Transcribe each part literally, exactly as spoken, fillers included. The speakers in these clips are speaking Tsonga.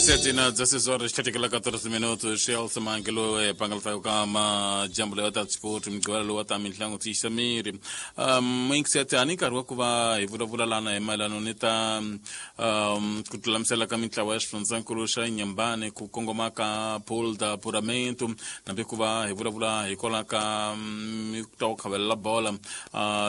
Sete na dezesseis horas trinta e quatro minutos Chelsea mangelo e pangalta kama jambo la ta sport mgwala lo ta mintlango ti samiri um inksete ani karwa kuva hi vulavula lana hi mayelana ni ta um ku lulamisela ka mintlawa ya xifundzankulu xa Inhambane ku kongoma ka pool da apuramento nambi ku va hi vulavula hikwalaho ka ta ku khavelela bola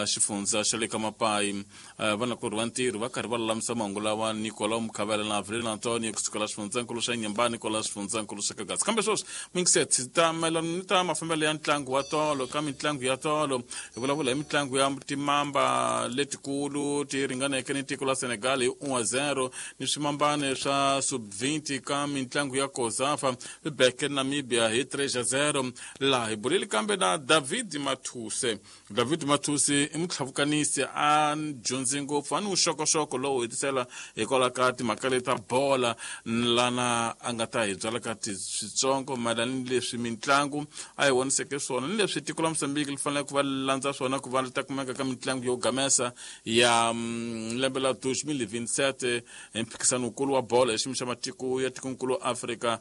xifundza xa le ka Mapai vanakorhi va ntirho va karhi va lulamisa mahungu lawa Nicolau Mukhavela na Avril Antonio kusukela xifundzankulu xa Inhambane kwala xifundzankulu xa Kagasi. Kambe sweswi minkiset ta mayelana ni ta mafambelo ya ntlangu wa tolo ka mitlangu ya tolo hi vulavula hi mitlangu ya timamba letikulu ti ringaneke ni tiko la Senegal hi one zero ni swimambane swa sub twenty ka mitlangu ya Kozafa swi beke Namibia hi three zero. Laha hi buleli kambe na David Mathuse. David Mathuse i mutlhavukanisi a dyondzi ngopfu a ni vuxokoxoko lowu hetisela hikwalaho ka timhaka leti ta bola lana a nga ta hi byala ka switsongo mayelana ni leswi mitlangu a hi voniseke swona ni leswi tiko la Mozambique li fanele ku va landza swona ku va li ta kumeka ka mitlangu yo gamesa ya lembe la dois mil e vinte e sete hi mphikizano wukulu wa bola hi xiyimo xa matiko ya tikonkulu Afrika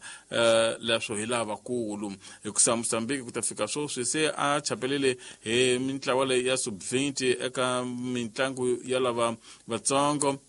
leswo hi lavakulu hikusa Mozambique ku ta fika sweswi se a chapelele hi mintlawa leyi ya sub twenty eka mitlangu ya lava vatsongo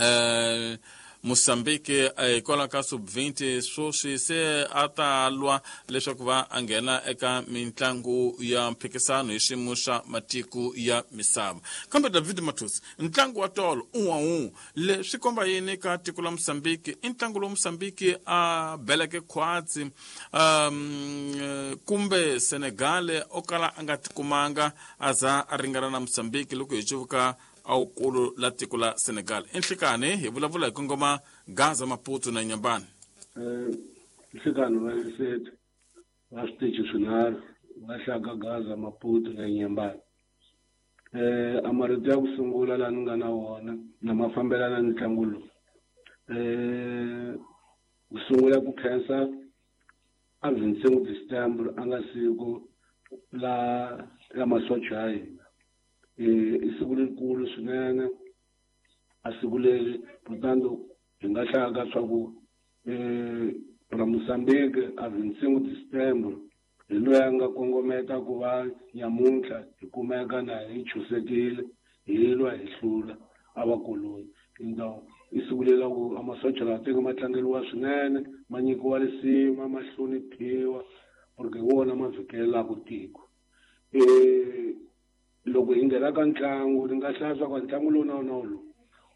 eh Mozambique hikwalaho ka sub twenty sweswi se a ta lwa leswaku va a nghena eka mitlangu ya mphikizano hi xiyimo xa matiko ya misava. Kambe David Mathuse, ntlangu wa tolo un'we un'we leswi komba yini ka tiko la Mozambique? I ntlangu lowu Mozambique a beleke khwatsi um kumbe Senegal o kala a nga tikumanga a za a ringana na Mozambique loko hi cuvuka awukulu la tiko la Senegal. Enhlikani hi vulavula hi kongoma Gaza, Maputo na Inhambane. Eh nhlikani va sete va switichi swinharhu va hlaka Gaza, Maputo na Inhambane. Eh a marito ya ku sungula laha ni nga na wona na ma fambelana ni ntlangu lowu. Eh ku sungula ku khensa a vinte e cinco de setembro a nga siku la la masocha ya hina. I siku lerikulu swinene a siku leri portanto hi nga hlaya swa ku ra Mozambique a vinte e cinco de setembro hi loyi a nga kongometa ku va nyamuntlha hi kumeka na hi chusekile hi lwa hi hlula a vakoloni. Então i siku leri ku a masocha lawa tiko ma tlangeriwa swinene ma nyikiwa risima ma hloniphiwa porque hi wona ma vhikelelaka tiko. Eh loko hi nghena ka ntlangu ni nga hlaya swa ku ntlangu lowu na wona lowu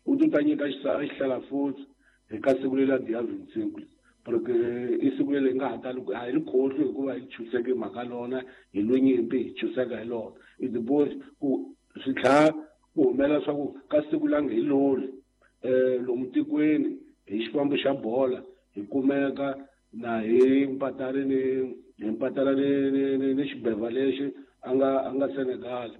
wu ti ta nyika xihlala futhi hi ka siku leri dia vinte e cinco porque i siku leri hi nga ha tali a hi ri khohlwi hikuva hi chuseke mhaka lona hi lwe nyimpi hi chuseka hi lona. I depois ku swi tlhela ku humela swa ku ka siku la nge hi loli um lomu tikweni hi xifambo xa bola hi kumeka na hi mpatari ni hi mpatara ni ni ni xibeva lexi a nga a nga Senegal.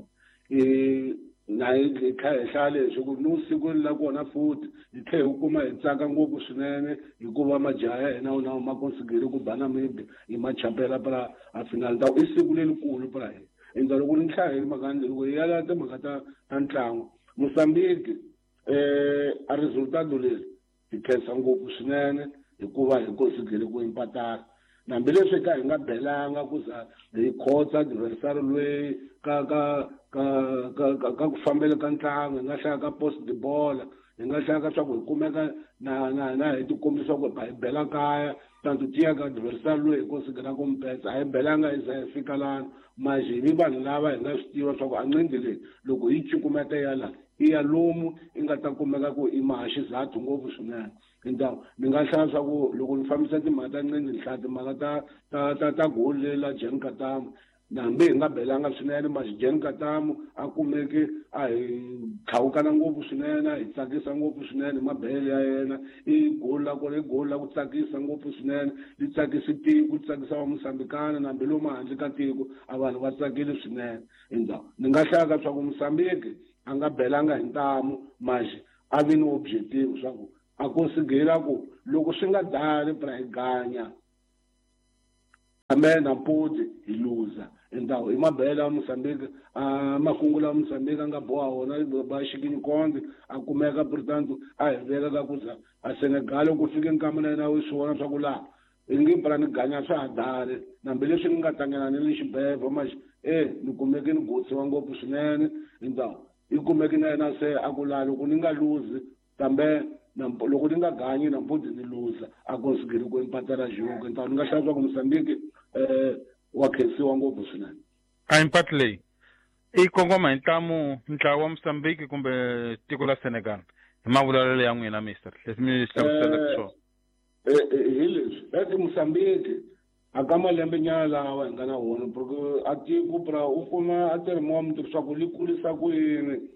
I na hi kha hi hlaya leswi ku ni siku la kona futhi hi tlhela hi kuma hi tsaka ngopfu swinene hikuva majaha ya hina wona ma konsigele ku ba Namibia hi ma chapela pra a final ta i siku lerikulu pra hina. Endzhaku loko ni hlaya hi mhaka loko hi ya timhaka ta ta ntlangu Mozambique eh a resultado leri hi khensa ngopfu swinene hikuva hi konsigele ku impatara hambileswi ka hi nga belanga ku za hi khotsa adversary loyi ka ka ka ka ka ku fambela ka ntlangu hi nga hlaya ka post de bola hi nga hlaya ka swa ku hi kumeka na na na hi tikombisa ku hi bela kaya tanto tiya ka adversary loyi hi konsigela ku mpetsa a hi belanga hi za hi fika lana manje hi vi vanhu lava hi nga swi tiva swa ku a nqindi leyi loko hi cukumeta ya la i ya lomu i nga ta kumeka ku i maha xizathu ngopfu swinene. Então ni nga hlaya swa ku loko ni fambisa timhaka ta nqindi ni hlaya timhaka ta ta ta ta goli leri la Jean Katamu na hambi hi nga belanga swinene masi Jean Katamu a kumeke a hi tlhawukana ngopfu swinene a hi tsakisa ngopfu swinene mabele ya yena i goli la kona i goli la ku tsakisa ngopfu swinene li tsakisi tiko li tsakisa va Mozambikana na hambi lomu handle ka tiko a vanhu va tsakile swinene. Então ni nga hlaya ka swa ku Mozambique a nga belanga hi ntamu masi a vi ni objective swa ku a konsigela ku loko swi nga dali pra hi ganya kambe na mpoti hi luza. Então i mabela ya Mozambique a makungu la Mozambique a nga boha wona ba xikinyikonde a kumeka portanto a hi veka ka ku za a Senegal ku fike nkama na yena u swi vona swa ku laha i nge pra ni ganya swa ha dali hambileswi ni nga tlangela ni le xibedhlele manje e ni kumeke ni gotsiwa ngopfu swinene. Então i kumeke na yena se a ku laha loko ni nga luzi kambe loko ni nga ganyi nampundzu ni luza a konsigiri ku empatela jogo. Então ni nga hlaya swa ku Mozambique um wa khensiwa ngopfu swinene. A impact leyi i kongoma hi ntlamu ntlawa wa Mozambique kumbe tiko la Senegal hi mavulavulelo ya n'wina mister leswi mi hlamuselaka swona? Hi leswi eti Mozambique a ka malembe nyana lawa hi nga na wona porque a tiko pra u kuma a tirhi wa muti swa ku li kulisa ku yini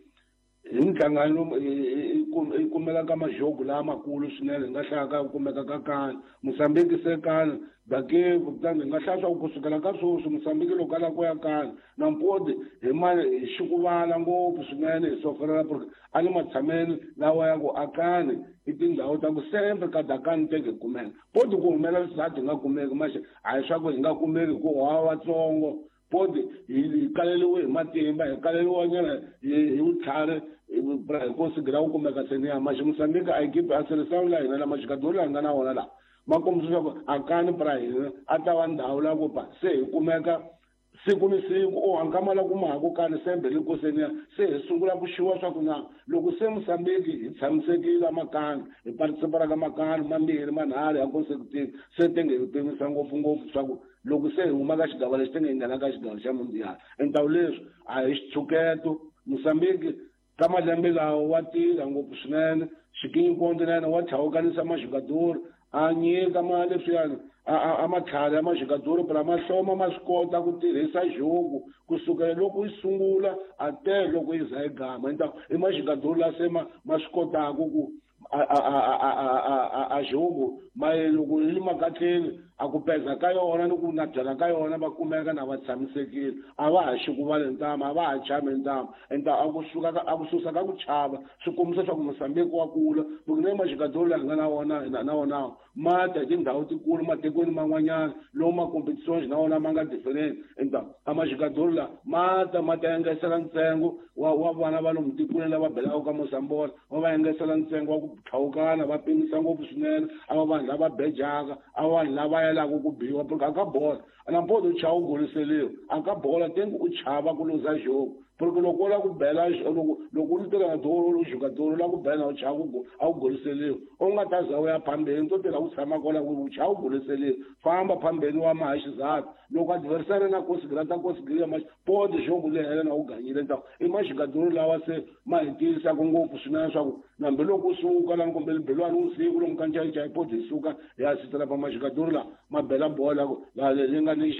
hi nhlangano i kumeka ka majogo lamakulu swinene hi nga hlaya ka kumeka ka kani Mozambique se kani dake kutani hi nga hlaya swa ku kusukela ka sweswi Mozambique loko a lava ku ya kani nampodi hi ma hi xikuvala ngopfu swinene hi soferela porque a ni matshameni lawa ya ku akani i tindhawu ta ku sempre ka dakani teke hi kumeka podi ku humela swisati hi nga kumeki maxe a hi swa ku hi nga kumeki hi ku wa vatsongo podi hi kaleliwe hi matimba hi kaleliwa nyana hi vutlhari hi konsigira ku kumeka seniya maxe Mozambique a equipe a seleção la hina lama xikadori la hi nga na wona laha ma kombisa leswaku akani pra hina a ta va ndhawu la ku pa se hi kumeka siku ni siku o hankama la kumaku kani sembe li koseniya se hi sungula ku xiwa swa ku na loko se Mozambique hi tshamisekile makani hi participara ka makani mambirhi manharhu ya consecutive se tenge hi pimisa ngopfungopfu swa ku loko se hi huma ka xigava lexi tenge hi nghena ka xigava xa mundial. Entawu leswi a hi xitshuketo Mozambique ka malembe lawa wa tirha ngopfu swinene xikinyikonde na yena wa tlhawukanisa maxikadori a nyika ma leswiyani a matlhari ya maxikadori phela ma hloma ma swi kota ku tirhisa jogo kusukela loko yi sungula a te loko yi za yi gama. Então i maxikadori la se ma ma swi kotaka ku a a a a a jogo ma loko yi le makatleni a ku peza ka yona ni ku nabyela ka yona va kumeka na va tshamisekile a va ha xikuvale ntama a va ha chami ntama. Enta a ku suka a ku susa ka ku chava swi kombisa swa ku Mozambique wa kula porque na maxikadori la hi nga na wona na wona ma ta hi tindhawu tikulu matikweni man'wanyana lomu ma competitions na wona ma nga different. Enta a maxikadori la ma ta ma ta engesela ntsengo wa wa vana va lomu tikweni lava belaka ka Mozambique va va engesela ntsengo wa ku tlhawukana va pimisa ngopfu swinene a va vanhu lava bejaka a vanhu lava yelaka ku biwa porque a ka bola nampodi u chava u goliseliwa a ka bola tengi u chava ku luza jogo porque loko u lava ku bela loko loko u tirha na doro u jogador u lava ku bela u chava ku a wu goliseliwa u nga ta za u ya phambeni to tirha u tshama kona u chava u goliseliwa famba phambeni wa maha xizati loko adversary na konsigira ta konsigira ma podi jogo le hela na u ganyile. Então i maxikadori lawa se ma hi tiyisaka ngopfu swinene swa ku nambi loko u suka lani kumbe libelwani usiku lomu ka ncayicayi podi hi suka hi ya sitela pa maxikadori la ma bela bola li nga ni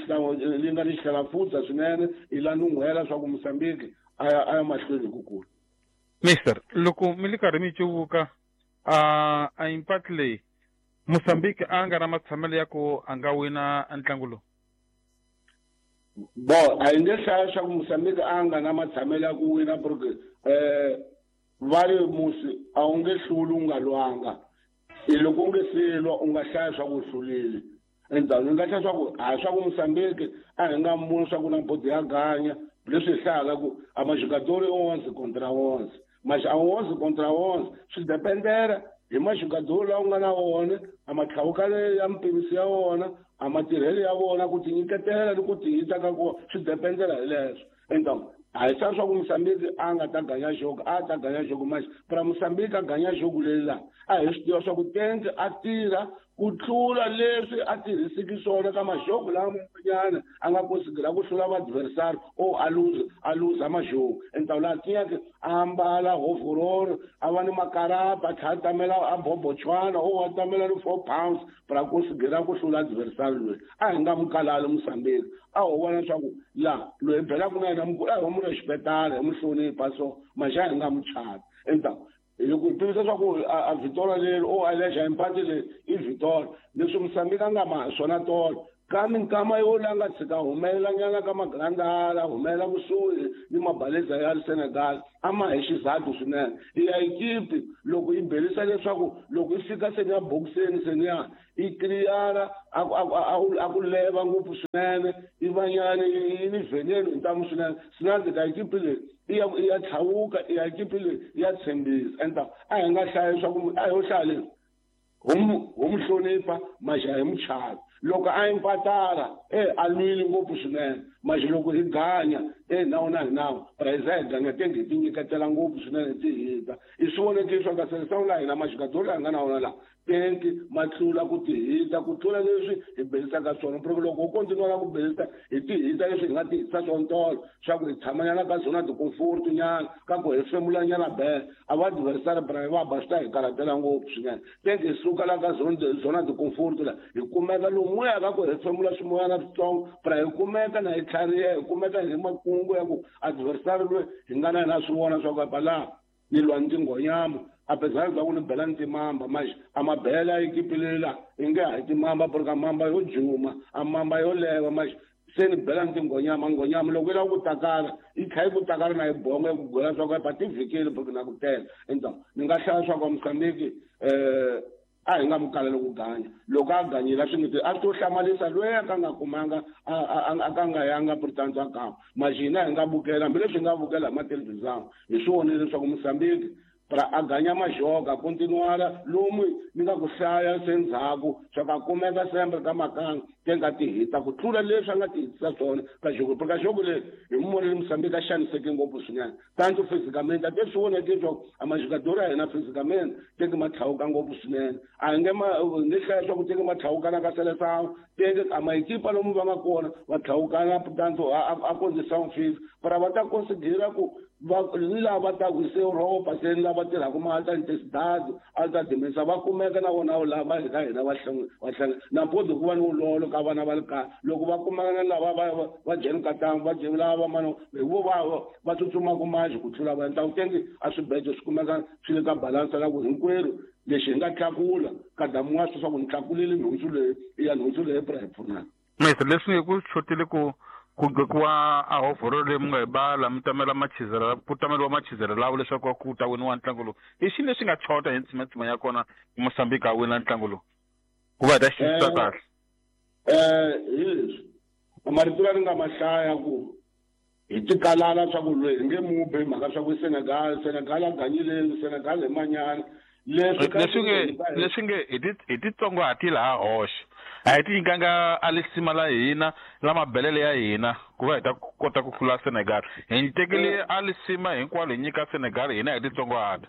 li nga ni xihlalafutsa swinene i la nun'hwela swa ku Mozambique a ya a ya mahlweni hi ku kula. Mister loko mi li karhi mi cuvuka a a impact leyi Mozambique a nga na matshamelo ya ku a nga wina ntlangu lowu? Bo a hi nge hlaya swa ku Mozambique a nga na matshamelo ya ku wina porque um va ri musi a wu nge hluli u nga lwanga i loko u nge se lwa u nga hlaya swa ku u hlulile. Endzhaku ni nga hlaya swa ku a swa ku Mozambique a hi nga muni swa ku na bodi ya ganya leswi hi hlayaka ku a maxikadori i onze contra onze maxe a onze contra onze swi dependera hi maxikadori lawa u nga na wona a matlhawukale ya mpimiso ya wona a matirhelo ya vona ku tinyiketela ni ku tiyisa ka kona swi dependela hi leswo. Então a hi swa swa ku Mozambique a nga ta ganya jogo a ta ganya jogo maxe pra Mozambique a ganya jogo leyi laha a hi swi tiva swa ku tenke a tirha ku tlula leswi a tirhisiki swona ka majogo lama man'wanyana a nga konsigira ku hlula vaadversary o a luza a luza majogo. Entawu laha tiyake a ambala hovororo a va ni makarapa a tlhela a tamela a bobochwana o a tamela ni four pounds pra konsigira ku hlula adversary loyi a hi nga mu kalali Mozambique a ho vona leswaku la loyi hi belaka na yena mukulu a hi mu respetala hi mu hlonipha so maxe a hi nga mu chavi. Entawu loko hi tivisa swa ku a Vitola leri o a lexa impati leyi i Vitola leswi Mozambique a nga ma swona tolo Ka minkama yo la nga tshika humelela nyana ka magrandala humelela kusuhi ni mabaleza ya Senegal a ma hi xizathu swinene. Ya ekipi loko yi belisa leswaku loko yi fika seni ya boxeni seni ya yi clear a a ku leva ngopfu swinene yi vanyana yi ni veneno ntamu swinene swinene ka ekipi leyi ya ya tlhawuka ya ekipi leyi ya tshembisa enta a hi nga hlaya leswaku a ho hlaya leswi ho mu hlonipha maxa hi muchavi loko a impatara eh a lwile ngopfu swinene maxa loko hi ganya eh nawu na hi nawu prize hi ganya tenge hi tinyiketela ngopfu swinene ti hita i swi voneke swa ka seleção la hina maxikadori la hi nga na wona laha tenki ma tlula ku tihita ku tlula leswi hi belisaka swona porque loko u kontinuwa ku belisa hi tihita leswi hi nga tihisa swona tolo swa ku hi tshamanyana ka zona ti-comfort nyana ka ku hefemula nyana bele a va adversary bra va ba swi ta hi karhatela ngopfu swinene tenki hi suka la ka zona zona ti-comfort la hi kumeka lomuya ka ku hefemula swimoyana switsongo bra hi kumeka na hi tlhariha hi kumeka hi makungu ya ku adversary loyi hi nga na yena swi vona swa ku apa laha ni lwa ni tinghonyama apesar bya ku ni bela ni timamba manje a mabela ekipi leyi la i nge hayi timamba porque a mamba yo juma a mamba yo leva manje se ni bela ni tinghonyama nghonyama loko yi lava ku takala yi tlha yi ku takala na yi bonga yi ku gwela swa ku pa ti vhikile porque na ku tela enta ni nga hlaya swa ku Mozambique um a hi nga mu kaleli ku ganya loko a ganyile a swi nge a swi to hlamarisa loyi a ka nga kumanga a ka nga yanga portanto a kama maxe hina hi nga vukela hambileswi hi nga vukela hi mathelevhizani hi swi vonile leswaku Mozambique pra a ganya majoga continuara lomu ni nga ku hlaya se ndzhaku swa ka kumeka sembe ka makanga te nga tihita ku tlula leswi a nga tihitisa swona ka jogo ka jogo leyi hi mu vonile Mozambique a xaniseke ngopfu swinene tanto physicamente a te swi voneke leswaku a majogadori ya hina physicamente teke ma tlhawuka ngopfu swinene a hi nge ma ni hlaya swa ku teke ma tlhawukana ka seleção teke a maekipa lomu va nga kona va tlhawukana tanto a condição física para va ta considera ku va ni lava ta ku se Europa se ni lava tirhaka ma alta intensidade alta dimensão va kumeka na vona lava hi ka hina va hlanga va hlanga na mpodzi ku va ni vulolo ka vana va le kaya loko va kumeka na lava va va jeni ka tanga va jeni lava mano hi vo va va tsutsumaka manje ku tlula va endla tengi a swibejo swi kumeka swi le ka balansa la ku hinkwerhu lexi hi nga tlakula ka damuwa swi swa ku ni tlakulile nhundzu leyi i ya nhundzu leyi pra hi pfunana Maestro leswi nge ku xotile ku ku gqokiwa a hovhoro leyi mi nga yi bala mi tamela machizelo ku tameriwa machizelo lawo leswaku ku ta winiwa ntlangu lowu i xini lexi nga chota hi ntsimatsima ya kona Mozambique a wina ntlangu lowu ku va hi ta xiyisisa kahle um hi leswi marito la ni nga ma hlaya ku hi tikalala swa ku loyi hi nge mu bi hi mhaka swa ku Senegal Senegal a ganyile Senegal hi manyana leswi leswi nge leswi nge hi ti hi titsongahati laha hoxe a hi ti nyikanga a lisima la hina la mabelele ya hina ku va hi ta kota ku hlula Senegal hi tekele a lisima hinkwalo hi nyika Senegal hina hi titsongahata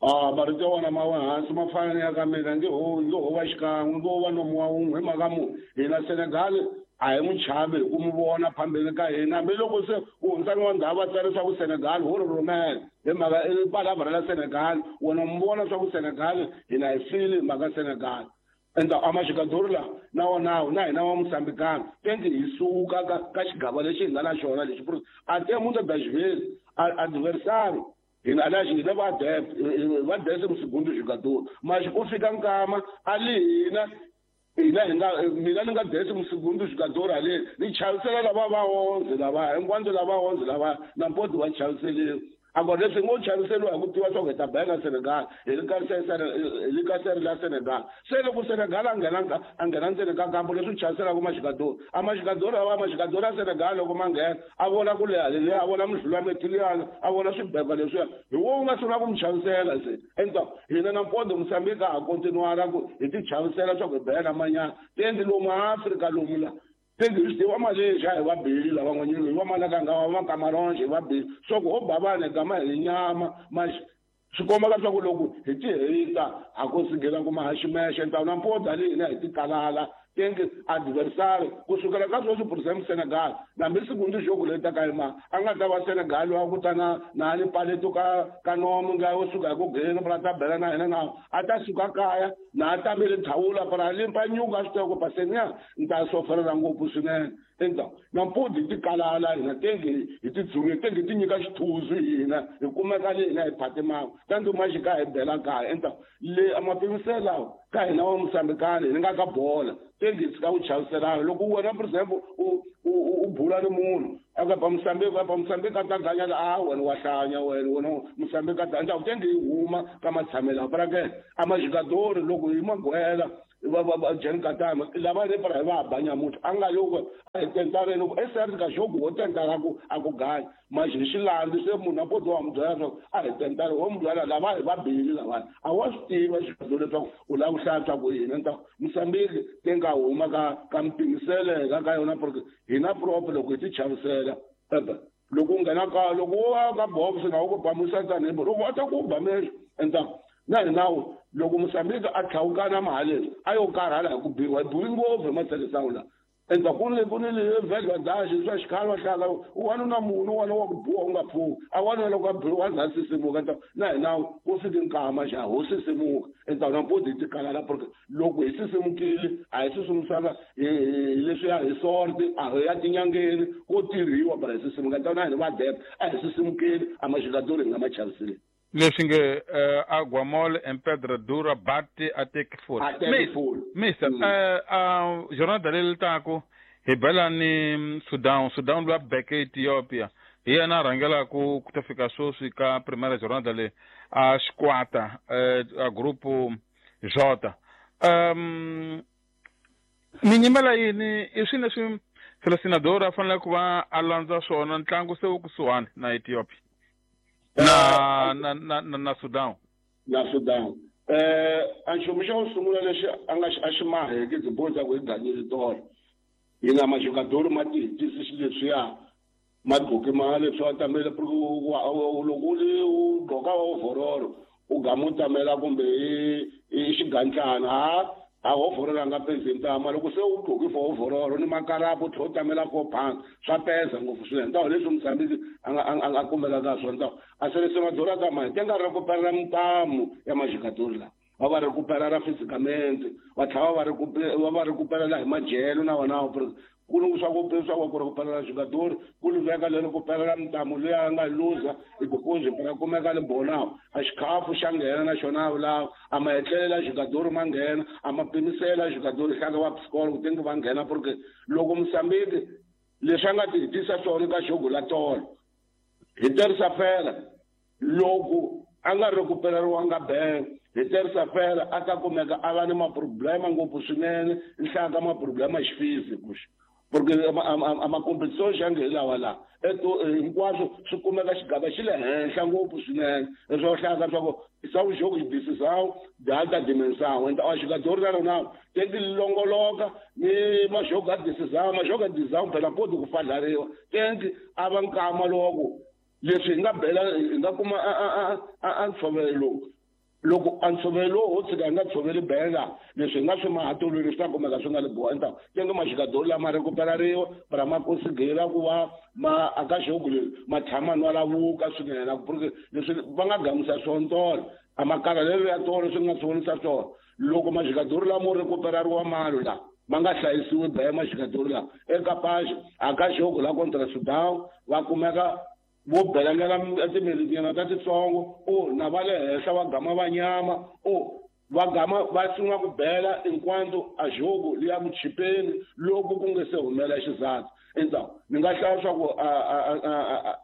a marito ya wona ma wa hansi ma fana ni ya ka mina nge ho nge ho va xikan'we nge ho va nomu wa wun'we hi mhaka mu hina Senegal a hi n'wi chavi hi ku mu vona phambeni ka hina hambiloko se ku hundzani wa ndhawu va tsale swa ku Senegal ho ri rhumela hi mhaka i palavra la Senegal wena mu vona swa ku Senegal hina hi fili hi mhaka Senegal enta a maxikadori la na wona na hina wa Mozambikana tengi hi suka ka ka xigava lexi hi nga na xona lexi a te mundo das vezes adversário hina aliás hina va def va décimo segundo jogador mas ku fika nkama ali hina hina hi nga mina ni nga décimo segundo jogador ale ni chavisela lava va onze lava hinkwando lava onze lava na mpoti va chaviseliwa agora leswi ngo chaviseliwa hi ku tiva swa ku hi ta bela Senegal hi le ka hi le ka sere la Senegal se loko Senegal a nghena a nghena ndzeni ka kampo leswi chaviselaka maxikadori a maxikadori awa maxikadori ya Senegal loko ma nghena a vona ku leha leliya a vona midlulametiliyana a vona swibeba leswiya hi wo wu nga sungula ku mi chavisela se enta hina na mpondo Mozambique a ha kontinuara ku hi ti chavisela swa ku hi bela manyana tendi lomu Afrika lomu la tengi hi swi tiva Malaysia hi va beli lavan'wanyana hi va Malakanga va Cameroon hi va beli swa ku ho ba vanhu hi gama hi nyama maxe swi kombaka swa ku loko hi ti hita ha ko sigela kuma haximexe ntawu na mpodza leyi hina hi ti kalala tengi adversary kusukela ka sweswi for example Senegal nambi segundo jogo leyi taka yima a nga ta va Senegal wa ku ta na na ni paleto ka ka nomu nga wo suka hi ku geni pra ta bela na hina na a ta suka kaya na a tamele thawula para limpa nyuka swi tiva ku paseniya ni ta soferela ngopfu swinene Endzhaku nampundzu hi tikalala hina tenge hi tidzunge tenge ti nyika xithuzu hina hi kumeka le hina hi phatimaka tanti maxika hi bela kaya. Endzhaku le a mapimiselo lawa ka hina wa Mosambikani hi nga ka bola tenge hi tshika ku chaviselana. Loko wena for example u u bula ni munhu a ka ba Mosambiki a ba Mosambiki a ta ganya a wena wa hlanya wena wena Mosambiki a ta endzhaku tenge hi huma ka matshamelo para ke a majogadori loko hi magwela va va Jan Katama lava le para va ba nyamuthi a nga loko a hi tentare loko e ka jogo wo tentara ku a ku ganya manje hi xilandi se munhu a poto wa mu byela leswaku a hi tentare wo mu byela lava hi va bili lava a wa swi tiva xilo leswaku u lava ku hlantswa ku hina ta Mosambiki te nga huma ka ka mpimiseleka ka yona porque hina proper loko hi ti chavisela loko u nghena ka loko wo ka box na u ku ba musatani loko a ta ku ba mexo endzhaku na hina loko Mosambiki a tlhawukana mahaleni a yo karhala hi ku biwa hi biwi ngopfu hi matshelisano la. Endzhaku ku ni ku ni vhedlwa daxi swa xikhale va hlaka wanuna munhu wana wa ku biwa u nga pfuki a wanuna loko a biwa a za sisimuka na hina ku fiki nkama xa ho sisimuka. Endzhaku nampundzu hi tikalala porque loko hi sisimukile a hi sisimusaka hi leswiya hi sorti a hi ya tinyangeni ko tirhiwa para hi sisimuka. Endzhaku na hina va dep a hi sisimukile a majogadori hi nga ma chaviseli. Leswi nge Aguamol em Pedra Dura bate até que for. Mister, jornada leyi taku hi bela ni Sudan, Sudan lwa beke Ethiopia. Hi yena a rhangelaku ku ta fika sweswi ka primeira jornada leyi a xikwata a grupo J. Um ni nyimela yini i swilo leswi selecionador a fanele ku va a landza swona ntlangu se wu kusuhani na Ethiopia. Na na na na, na Sudan. Na Sudan. Eh a nchumu xa ku sungula lexi a nga a xi maheke tiboza ku hi ganyile tolo. Hi nga majogadori ma tihitisi xilo leswiya madgoki ma leswi wa tamela loko u li u gqoka overall u gama u tamela kumbe i xigandlana ha a overall a nga pezi ntama loko se u gqoki for overall ni makarapu u tlhela u tamela four pounds swa peza ngopfu swinene. Ntawo leswi Mosambiki a nga a nga kumelaka swona ntawo a selecionador ka mani te nga recuperar mintamu ya majogadori lawa va va recuperar fisicamente va tlhela va va va recuperar hi madyelo na wona ku ni swa ku swa ku recuperar jogador ku ni veka le recuperar mintamu leyi a nga luza hi ku para kumeka le bonawo a xikhafu xa nghena na xona lawa a ma etlelela jogador ma nghena a ma pimisela jogador hlaka va psikolo ku tenge va nghena porque loko Mosambiki leswi a nga ti hitisa swona ka jogo la tolo hi terisa fela loko a nga recuperariwanga ben hi terisa fela a ta kumeka a va ni maproblema ngopfu swinene nhlaka maproblema xifisi porque a macompetition xa nge lawa la eto hinkwaswo swi kumeka xigava xi le henhla ngopfu swinene leswi hlaka swa ku swa jogo decisão de alta dimensão. Então a jogador la rona tem que longoloka ni majogo a decisão majogo a decisão phela pode ku fadlariwa tem que a va nkama loko leswi hi nga bela hi nga kuma a a a ntshovelo loko a ntshovelo wo tshika hi nga tshoveli bela leswi hi nga swi mahatolweni swi ta kumeka swi nga le boha endzhaku tenge majogadori lama recuperariwa para ma consigira ku va ma aka jogo leri ma tshama nwa lavuka swinene porque leswi va nga gamisa swona tolo a makarhalelo ya tolo swi nga swi vonisa swona loko majogadori lamo recuperariwa malo la ma nga hlayisiwi bela majogadori lawa eka paxi aka jogo la contra Sudan va kumeka vo belangela timelitinyana ta titsongo o na va le henhla va gama va nyama o va gama va sungula ku bela enquanto a jogo liya ku chipeni loko ku nge se humela xizathu. Endzhaku ni nga hlaya swa ku a a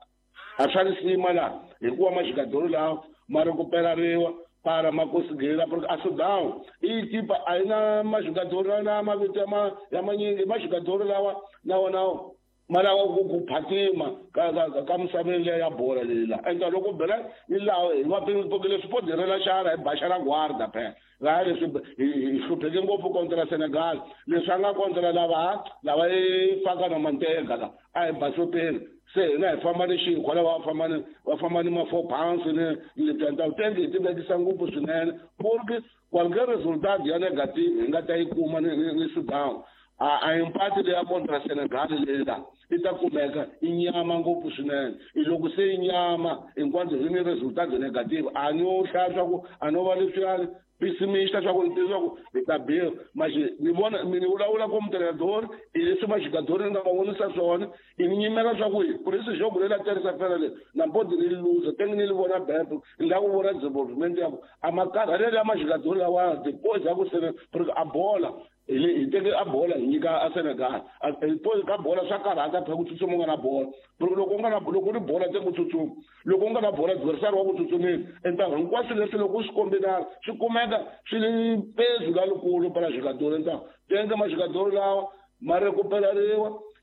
a swa risima laha hikuva majogadori lawa ma recuperariwa para ma consigira porque a Sudan i tipa a yi na majogadori na mavito ya ma ya manyingi majogadori lawa na wona ma lava ku ku phatima ka ka ka misaveni leyi ya bola leyi la enta loko bela ni laha hi va porque leswi poderela xana hi baxa la guarda phela laha leswi hi hlupheke ngopfu kontra Senegal leswi a nga kontra lava lava i faka na manteka la a hi basopeni se hina hi famba ni xinkwa lava va famba ni va famba ni ma four pounds ni lebyi ta tenge hi ti vekisa ngopfu swinene porque qualquer resultado ya negative hi nga ta yi kuma ni ni Sudan a a empate leya kontra Senegal leyi la i ta kumeka i nyama ngopfu swinene i loko se i nyama hinkwaswo hi ni resultado negative a no hlaya swa ku a no va leswiyani pessimista swa ku ni tiva ku hi ta biwa maxi ni vona ni vulavula ku mutirhadori hi leswi maxigadori ni nga va vonisa swona i ni nyimela swa ku hi ku ri swi lela terisa fela leri na mbodi ni luza tenge ni li vona bepo ni la ku vona development ya ku a makarhalelo ya maxigadori lawa depois ya ku sene porque a bola hi teke a bola hi nyika a Senegal ka bola swa karhata phela ku tsutsuma u nga na bola porque loko u nga na loko u ri bola te ku tsutsuma loko u nga na bola adversary wa ku tsutsumile enta hinkwaswo leswi loko u swi kombinana swi kumeka swi ri pezu lalukulu para xigadori enta tenge maxigadori lawa ma rekuperariwa